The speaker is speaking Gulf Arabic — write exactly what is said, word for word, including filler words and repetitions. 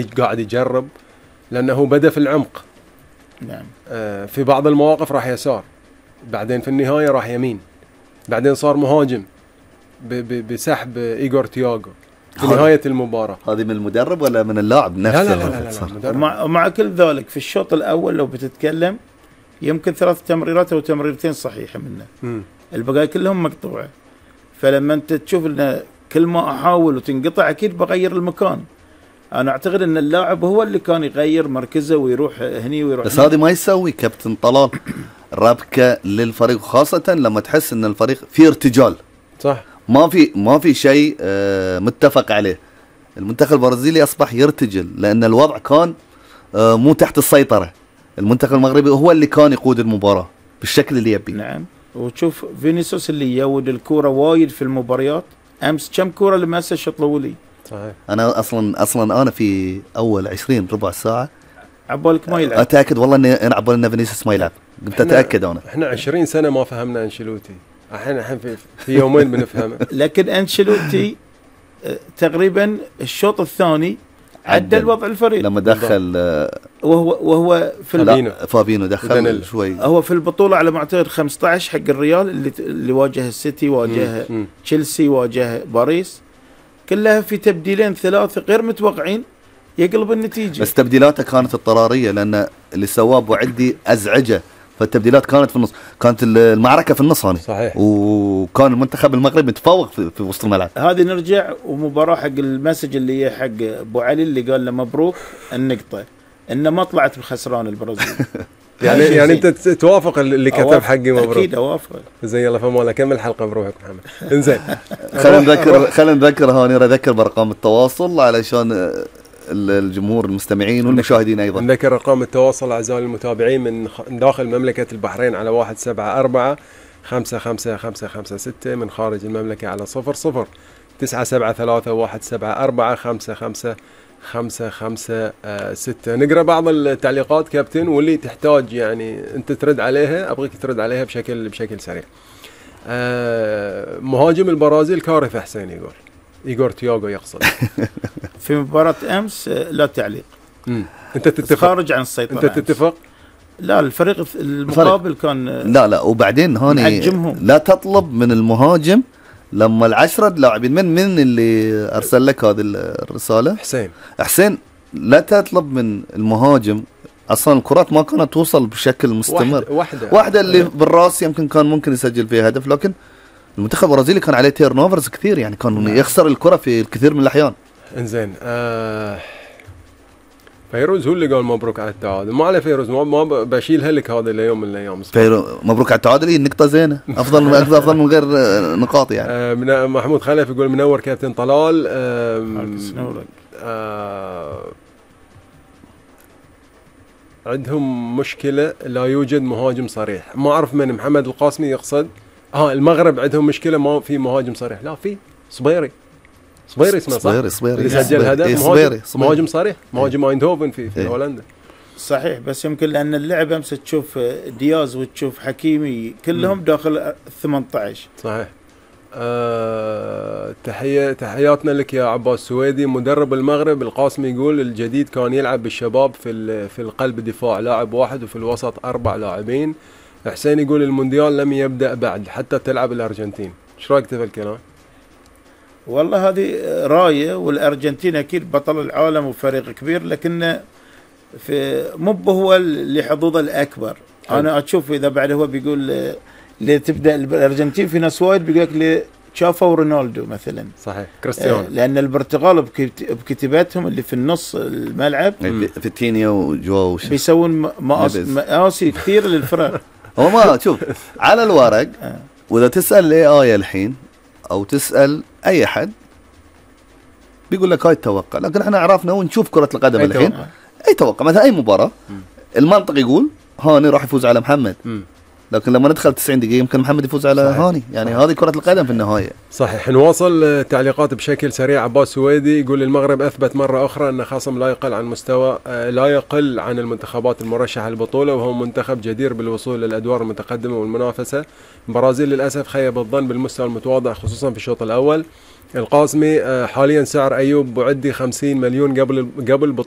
قاعد يجرب، لأنه بدأ في العمق. نعم. آه في بعض المواقف راح يسار، بعدين في النهاية راح يمين، بعدين صار مهاجم بسحب إيغور تياغو في نهاية المباراة. هذه من المدرب ولا من اللاعب نفسه؟ لا لا لا, لا, لا, لا ومع, ومع كل ذلك في الشوط الأول لو بتتكلم يمكن ثلاث تمريرات أو تمريرتين صحيحة منه، م. البقايا كلهم مقطوعة. فلما أنت تشوف إن كل ما أحاول وتنقطع أكيد بغير المكان. أنا أعتقد أن اللاعب هو اللي كان يغير مركزه ويروح هني ويروح بس هذه ما يسوي كابتن طلال ربكة للفريق، خاصة لما تحس أن الفريق فيه ارتجال. صح. ما في ما في شيء متفق عليه. المنتخب البرازيلي أصبح يرتجل لأن الوضع كان مو تحت السيطرة. المنتخب المغربي هو اللي كان يقود المباراة بالشكل اللي يبي. نعم. وتشوف فينيسيوس اللي يود الكرة وايد في المباريات. أمس كم كرة لمسه شوط الأولي. صحيح. أنا أصلا أصلا أنا في أول عشرين ربع ساعة عبالك ما يلعب. أتأكد والله إني أنا عبالي إن فينيسيوس ما يلعب. قمت أتأكد أنا. إحنا عشرين سنة ما فهمنا أنشيلوتي. الحين الحين في, في يومين بنفهمه. لكن أنشيلوتي تقريبا الشوط الثاني عدل وضع الفريق لما دخل وهو وهو في فابينو دخل شوي. هو في البطولة على ما أعتقد خمسة عشر حق الريال اللي اللي واجه السيتي، واجه تشيلسي، واجه باريس، كلها في تبديلين ثلاثة غير متوقعين يقلب النتيجة. بس تبديلاته كانت اضطرارية لأن اللي سواه أبو عدي أزعجه، فالتبديلات كانت في النص، كانت المعركة في النص هاني. صحيح. وكان المنتخب المغربي متفوق في, في وسط الملعب. هذه نرجع ومباراة حق المسج اللي هي حق أبو علي اللي قال له مبروك النقطة، إنه ما طلعت بخسران البرازيل. يعني يعني أنت توافق اللي كتب حقي مبروك؟ أكيد أوافق. زين يلا فما كمل الحلقة بروحك محمد. إنزين. خلينا نذكر خلينا نذكر هاني نذكر بأرقام التواصل علشان الجمهور المستمعين والمشاهدين أيضا. نذكر أرقام التواصل أعزائي المتابعين من داخل مملكة البحرين على واحد سبعة أربعة خمسة خمسة خمسة خمسة ستة، من خارج المملكة على صفر صفر تسعة سبعة ثلاثة واحد سبعة أربعة خمسة خمسة خمسة خمسة ستة. نقرأ بعض التعليقات كابتن واللي تحتاج يعني أنت ترد عليها، أبغيك ترد عليها بشكل بشكل سريع. مهاجم البرازيل كارثة حسين يقول إيغور تياغو يقصد. في مباراة أمس لا تعليق. مم. أنت تتفق؟ خارج عن السيطرة. أنت تتفق؟ لا الفريق المقابل كان لا لا وبعدين هوني لا تطلب من المهاجم لما العشرة لاعبين من من اللي أرسل لك هذه الرسالة؟ حسين. حسين لا تطلب من المهاجم، أصلا الكرات ما كانت توصل بشكل مستمر. واحدة واحدة, واحدة اللي بالراس يمكن كان ممكن يسجل فيها هدف، لكن المنتخب البرازيلي كان عليه تيرن اوفرز كثير، يعني كان نعم. يخسر الكرة في الكثير من الأحيان. انزين آه فيروز هو اللي قال مبروك على التعادل، ما على فيروز ما, ما بشيلها لك هذا اليوم من الأيام. فيروز مبروك على التعادل، هي نقطة زينة أفضل من أفضل من غير نقاط يعني. آه من محمود خلف يقول منور كابتن طلال. آه آه عندهم مشكلة لا يوجد مهاجم صريح، ما أعرف من محمد القاسمي يقصد. اه المغرب عندهم مشكلة ما في مهاجم صريح، لا في صبيري صبيري اسمه صح؟ صبيري صبيري اللي سجل هدف إيه مهاجم, مهاجم صريح، مهاجم ايندهوفن في في إيه هولندا. صحيح، بس يمكن لأن اللعبة امس تشوف دياز وتشوف حكيمي كلهم م. داخل ثمانية عشر. صحيح. آه تحية تحياتنا لك يا عباس سويدي مدرب المغرب. القاسمي يقول الجديد كان يلعب بالشباب في في القلب دفاع لاعب واحد وفي الوسط أربع لاعبين. حسين يقول المونديال لم يبدأ بعد حتى تلعب الأرجنتين. ايش رايك في الكلام؟ والله هذه راية، والأرجنتين أكيد بطل العالم وفريق كبير، لكن في مو هو اللي حظوظه الأكبر. حل. أنا أشوف إذا بعد هو بيقول ليه تبدأ الأرجنتين، في ناس وايد بيقول لك ليه شافوا رونالدو مثلا. صحيح كريستيانو. لأن البرتغال بكتيباتهم اللي في النص الملعب فيتينيا وجواو بيسوون مقاسي كثير للفرق. هو ما شوف على الورق وإذا تسأل الاي اي الحين أو تسأل أي حد بيقول لك هاي التوقع، لكن احنا عرفنا ونشوف كرة القدم الحين توقع. أي توقع مثلا أي مباراة م. المنطق يقول هاني راح يفوز على محمد، م. لكن لما ندخل تسعين دقيقة يمكن محمد يفوز على صحيح. هاني، يعني هذه كرة القدم في النهاية. صحيح. نواصل تعليقات بشكل سريع. عباس سويدي يقول المغرب أثبت مرة أخرى أن خصم لا يقل عن مستوى لا يقل عن المنتخبات المرشحة للبطولة، وهو منتخب جدير بالوصول للأدوار المتقدمة والمنافسة. البرازيل للأسف خيب الظن بالمستوى المتواضع خصوصا في الشوط الأول. القاسمي حاليا سعر أيوب بوعدي خمسين مليون قبل قبل بطولة